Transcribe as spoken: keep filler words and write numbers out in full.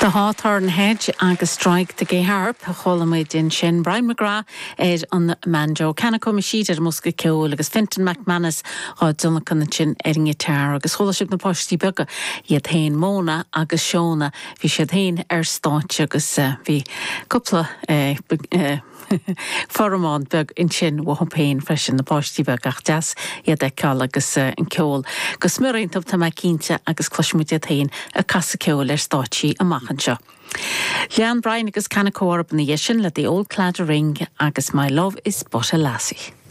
The Hawthorn Hedge agus Strike the Gay Harp chuala muid ansin Brian McGrath ar an mbanjo Kanako Machid ar an mbosca ceoil agus Fintan McManus á dtionlacan ansin ar an ngiotár agus chuala sibh na páistí beaga iad féin Móna agus Seona bhí siad féin ar stáitse agus uh, bhí cúpla uh, uh, formáid beag ansin uathu féin freisin na páistí beaga ach deas iad a fheiceáil agus uh, an ceol. Go smior iontu tá mé cinnte agus cloisfimid iad féin ag casadh ceoil ar stáitsí amach anseo. Lean Brian agus Kanako ina dhiaidh sin le The Old Claddagh Ring agus My Love is But a Lassie.